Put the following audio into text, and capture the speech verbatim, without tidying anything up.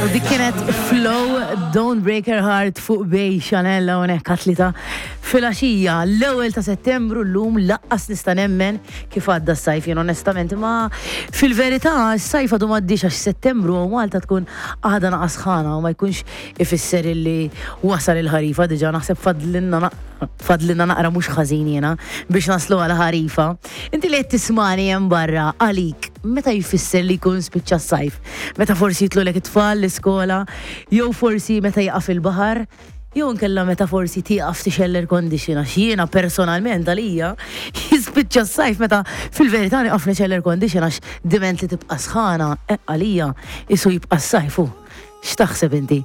U dik kienet Flow Don't Break Her Heart fuq Bay Chanel hawnhekk għat-tlieta filgħaxija, l-ewwel ta' Settembru llum. Lanqas nista' nemmen kif għadda s-sajf jien onestament, ma fil-verità s-sajf għadu m'għaddiex għax Settembru u Malta tkun għadha naqa sħana u ma jkunx ifisser illi wasal il-ħarifa diġà. Naħseb fadlinna fadlinna naqra mhux ħażin jiena biex naslu għal ħarifa. Inti li qed tismani hemm barra, għalik meta jfisser li jkun spiċċa s-sajf? Meta forsi jitilgħulek it-tfal l-iskola, jew forsi meta jaqaf il-baħar, jew nkella meta forsi tieqaf tixgħel air condition, għax jiena personalment għalija jispiċċa s-sajf meta fil-verità nieqaf nixgħel air condition, għax diment li tibqa' sħana, eh, għalija isu jibqa' s-sajf. X'taħseb inti?